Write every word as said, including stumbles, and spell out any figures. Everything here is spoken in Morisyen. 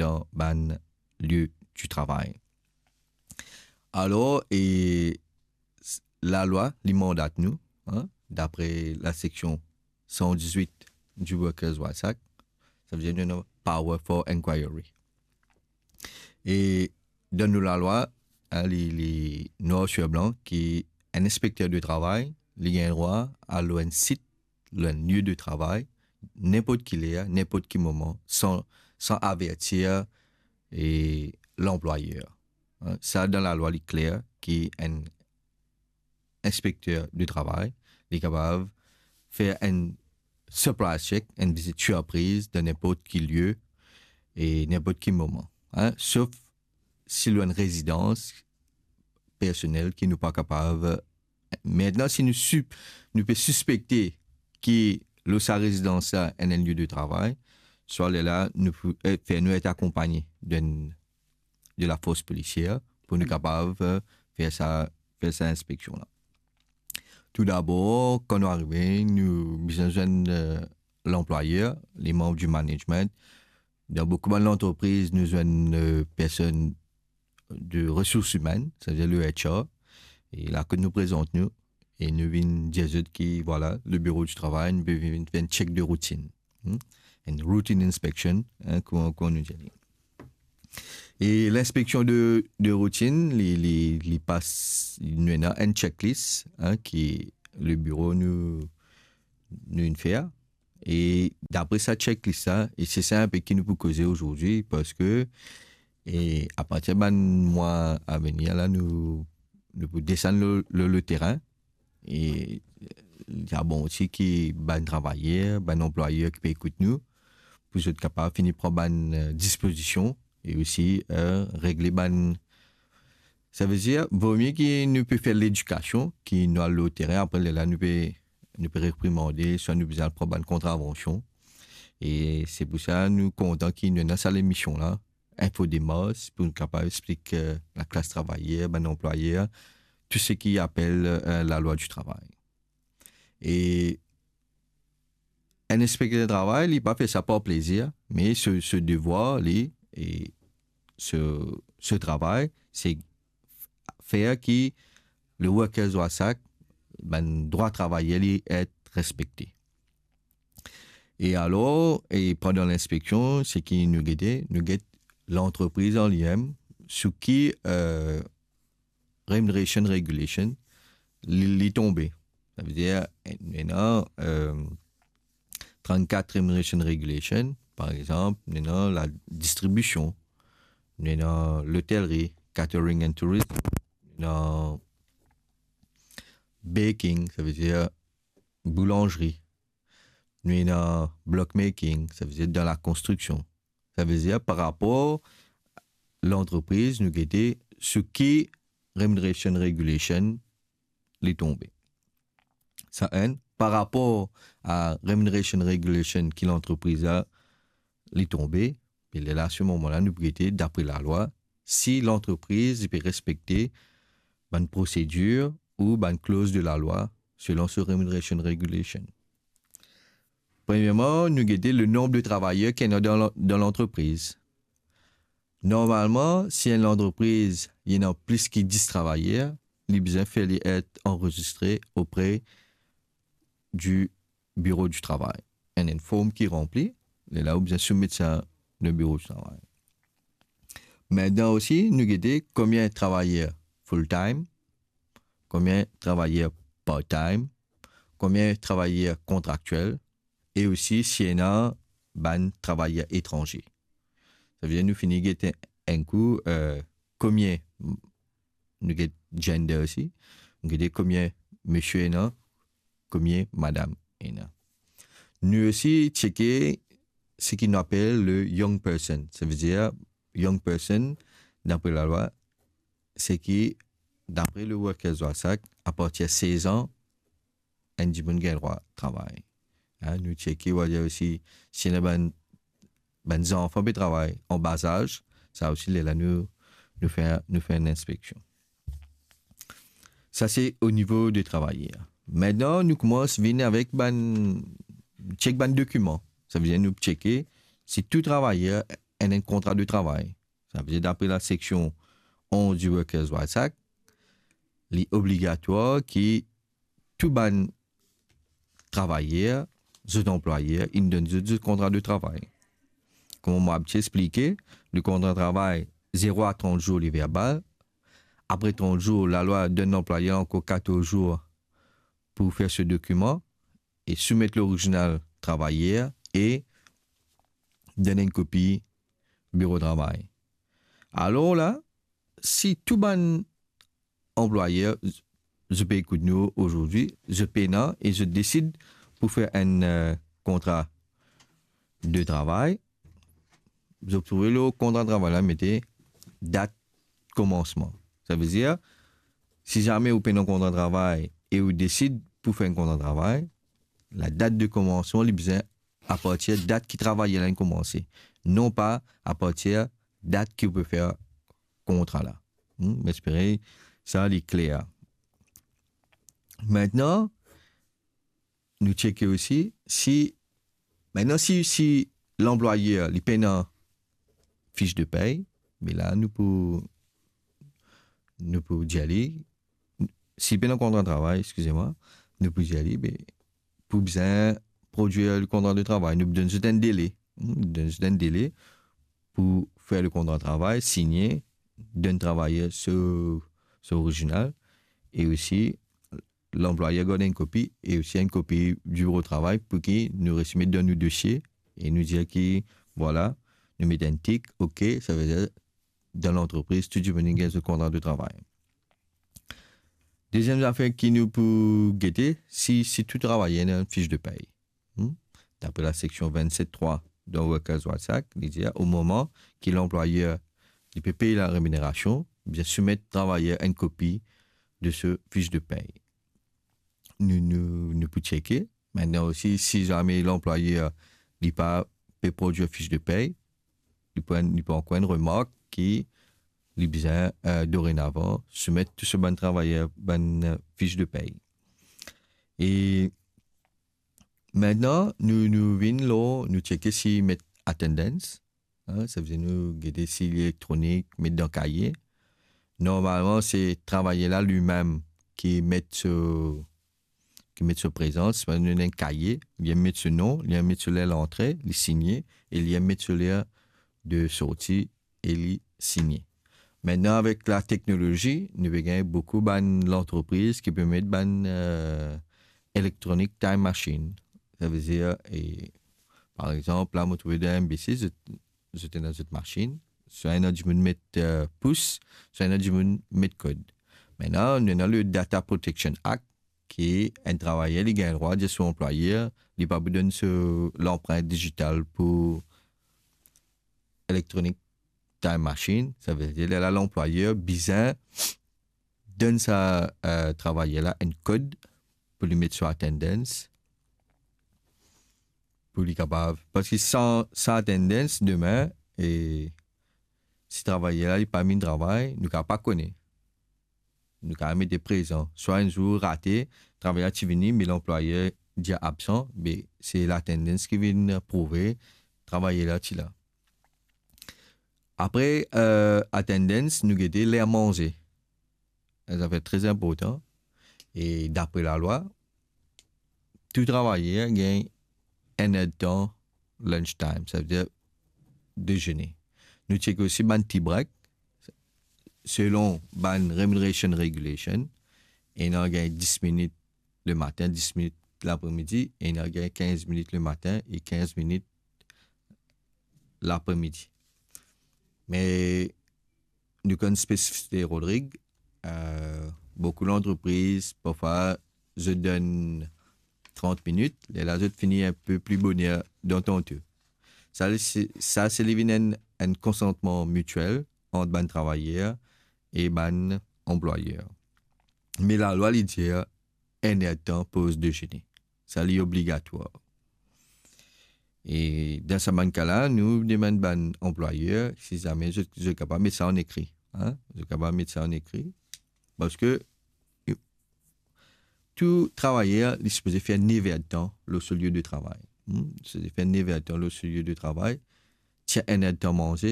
dan bann lie di travay. Alor, e, s-, lalwa, li mandat nou, hein, dapre la seksion san diz-wit di Workers' Rights Act, savedir nou ena power for inquiry. E dan nou lalwa, hein, li, li nwar sir blan ki enn inspekter de travay, li gagn drwa al lor enn sit, lor enn lie de travay, ninport ki ler, ninport ki moman, san, san avertir e lanplwayer. Hein, sa, dan lalwa, li kler ki enn inspekter de travay, li kapav fer enn surprise check, enn vizit sirpriz dan ninport ki lie e ninport ki moman. Hein, sof si lor enn rezidans personel ki nou pa kapav. Aster, si nou sip-, nou pe sispekte ki lor sa rezidans la ena enn lie de travay, swa lerla nou pou, eh, fer nou et akonpagne de, de lafors polisier pou nou kapav, eh, fer sa, fer sa inspeksion la. Toudabor, kan nou arive, nou bizin zwenn, eh, lanplwayer, lemanm di management. Dan boukou bann lantrepriz, nou zwenn, eh, personn de resours imenn, savedir le H R. E la kot nou prezant nou, e nou vinn dir zot ki, vwala, le biro di travay, nou pe vinn fer enn check de routine. Hmm? Enn routine inspection, hein, kouma, kouma nou dir li. E linspeksion de, de routine, li, li, li pas, nou ena enn checklist, hein, ki le biro nou, nou inn fer. E dapre sa checklist la, e se sa inpe ki nou pou koze azordi, parski, e apartir bann mwa avenir la, nou, nou pou desann lor, lor, lor terin, e li ta bon osi ki bann travayer, bann anplwayer ki pe ekout nou, pou zot kapav fini pran bann, eh, dispozision e osi, eh, regle bann, savedir, vomie ki nou pe fer ledikasion, ki nou al lor terin, apre lerla nou pe, nou pe reprimande, swa nou bizin al pran bann kontravansion. E se pou sa nou kontan ki nou ena sa lemision la, Info Démarche, pou nou kapav explik, eh, laklas travayer, bann anplwayer, tou seki apel, eh, lalwa di travay. E enn inspekter travay, li pa fer sa par plezir, me so, so devwar li, e so, so travay, se fer ki le Workers' Rights Act, bann drwa travayer li et respekte. E alor, e pandan linspeksion, seki nou gete, nou get lantrepriz an limem, sou ki, eh, remuneration regulation, li, li tonbe. Savedir, nou ena, eh, trannkat remuneration regulation, par exanp, nou ena ladistribision, nou ena lotelri, catering and tourism, nou ena baking, savedir boulanzri, nou ena block making, savedir dan lakonstriksion. Savedir par rapor lantrepriz, nou gete sou ki remuneration regulation li tonbe. Sa enn, par rapor a remuneration regulation ki lantrepriz la li tonbe, e lerla, se moman la, nou pou gete, dapre lalwa, si lantrepriz li pe respekte bann prosedir ou bann kloz de lalwa selon so remuneration regulation. Premierman, nou gete le nonb de travayer ki ena dan la-, dan lantrepriz. Normalman, si enn lantrepriz, li ena plis ki dis travayer, li bizin fer li et anrezistre opre di biro di travay. Enn, enn form ki ranpli, lerla ou bizin soumet sa dan biro di travay. Aster osi, nou gete konbien travayer full time, konbien travayer part time, konbien travayer kontraktiel, e osi si ena bann travayer etranze. Savedir nou fini gete enn kou, eh, konbien, nou get gender osi, nou gete konbien misie ena, konbien madam ena. Nou osi tcheke seki nou apel le young person. Savedir young person, dapre lalwa, seki, dapre le Workers' Rights Act, apartir sez an, enn dimoun gagn drwa travay. Hein, nou tcheke, ou va dir osi, si ena bann, bann zanfan pe travay an bazaz, sa osi, lerla nou, nou fer, nou fer enn inspeksion. Sa se o nivo de travayer. Aster, nou koumans vinn avek bann, tchek bann dokiman. Savedir nou tcheke si tou travayer enn, enn kontra de travay. Sa ve dir, dapre la seksion onz di Workers' Rights Act, li obligatwar ki tou bann travayer, zot anplwayer, inn donn zot, zot kontra de travay. Kouma mo ti explike, le kontra travay, zero a trant zour li verbal. Apre trant zour, lalwa donn lanplwayer ankor katorz zour pou fer so dokiman e soumet lorizinal travayer e donn enn kopi biro travay. Alor la, si tou bann anplwayer, zot pe ekout nou azordi, zot pena e zot desid pou fer enn, eh, kontra de travay, zot trouve lor kontra travay la mete dat komansman. Sa ve dir, si zame ou pena kontra travay e ou desid pou fer enn kontra travay, la dat de komansman, li bizin apartir dat ki travayer la inn koumanse, non pa apartir dat ki ou pe fer kontra la. Hmm, mo espere sa li kler. Mintnan, nou tcheke osi si, mintnan si, si lanplwayer li pena fich de pey, me la nou pou, nou pou dir li, si pena kontra travay, eskize mwa, nou pou dir li, be, pou bizin prodwir le kontra de travay, nou pou donn zot enn dele. Hmm, donn zot enn dele pou fer le kontra travay, signe, donn travayer so, so orizinal, e osi lanplwayer gard enn kopi, e osi enn kopi biro travay pou ki nou resi met dan nou dosie, e nou dir ki, vwala, nou met enn tik, ok, sa ve dir dan lantrepriz, tou dimoun inn gagn zot kontra de travay. Deziem zafer ki nou pou gete, si, si tou travayer ena enn fich de pey. Hmm? Dapre la seksion vennset trwa dan Workers' Rights Act, li dir, o moman ki lanplwayer li pe pey lareminerasion, bizin soumet travayer enn kopi de so fich de pey. Nou, nou, nou pou tcheke. Mintnan osi, si zame lanplwayer li pa pe prodwir fich de pey, li pou, li pou ankor enn remark ki li bizin, eh, dorenavan soumet tou so bann travayer bann, eh, fich de pey. E mintnan, nou, nou vinn lor, nou tcheke si met attendance, hein, sa ve dir nou gete si li elektronik, met dan kaye. Normalman, se travayer la limem ki met so, ki met so prezans. Par exanp, nou ena enn kaye, li met so non, li met so ler lantre, li signe, e li met so ler de sorti, e li signe. Mintnan, avek lateknolozi, nou pe gagn boukou bann lantrepriz ki pe met bann, eh, electronic time machine. Sa ve dir, e, par exanp, la, mo trouve dan M B C, zot, zot ena zot masinn, swa ena dimoun met, eh, pous, swa ena dimoun met kod. Mintnan, nou ena le Data Protection Act, ki enn travayer, li gagn drwa dir so anplwayer, li pa pou donn so lanprint dizital pou electronic time machine. Sa ve dir, lerla lanplwayer bizin donn sa, eh, travayer la enn kod pou li met so attendance, pou li kapav, parski san, san attendance, demin, e si travayer la, li pa vinn travay, nou kapav pa kone. Nou kapav mete prezan. Swa enn zour rate, travayer la ti vini, me lanplwayer dir absan, be se lattendance ki vinn prouve travayer la ti la. Apre, eh, attendance, nou gete ler manze. Enn zafer tre inportan. E dapre lalwa, tou travayer gagn enn er de tan lunch time, sa ve dir dezene. Nou tchek osi bann tea break, selon bann remuneration regulation, ena gagn dis minit lematin, dis minit lapre-midi, e ena gagn kinz minit lematin e kinz minit lapre-midi. Me nou konn spesifisite Rodrig, eh, boukou lantrepriz, parfwa, zot donn trant minit, lerla zot fini enn pe pli boner dan tan to. Sa, se, sa, se li vinn enn, enn konsantman mitiel ant bann travayer e bann anplwayer. Me lalwa, li dir enn er de tan poz dezene. Sa, li obligatwar. E dan sa bann ka la, nou demann bann anplwayer, si zame zot, zot kapav met sa an ekri, hein? Zot kapav met sa an ekri. Parski tou travayer, li sipoze fer nev er de tan lor so lie de travay. Hmm? Sipoze fer nev er de tan lor so lie de travay. ti enn erdtan manze,